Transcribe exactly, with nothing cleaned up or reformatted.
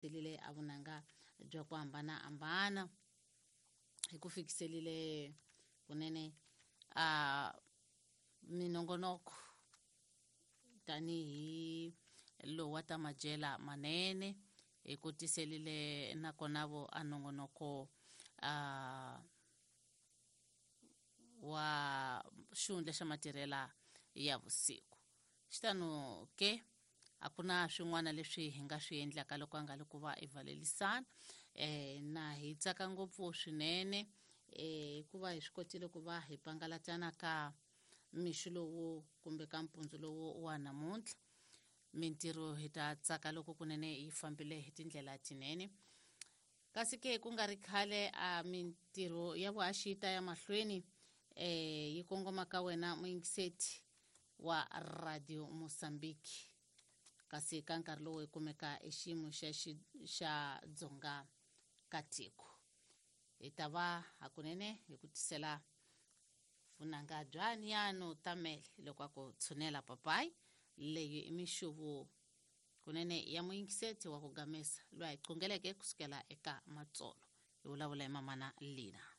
tiselile a vunanga bya ku hambanahambana hi ku fikiselile kunene a minongonoko tanihi lowu wa ta madyela manene hi ku tiselile nakona vo a nongonoko a wa xihundla xa matirhela ya vusiku. Xitano ke a ku na swin'wana leswi hi nga swi endlaka loko a nga li ku va i valelisana eh na hi tsaka ngopfu swinene eh hikuva hi swi kotile ku va hi pangalatana ka mixo lowu kumbe ka mpundzu lowu wa namuntlha. Mintirho hi ta tsaka loko kunene yi fambile hi tindlela tinene, kasi ke ku nga ri khale a mintirho ya vuhaxi yi ta ya mahlweni eh yi kongoma ka wena muyingiseti wa Radio Mozambique, kasi ka nkarhi lowu hi kumeka exiyimo xa xa dzonga ka tiko. Hi ta va hakunene hi ku tisela vunanga bya Niano Tamele loko a ku tshunela papayi leyi i mixuvu kunene ya muyingiseti wa ku gamesa loyi a hi qungeleke kusukela eka matsolo. Hi vulavula hi mamana Lina.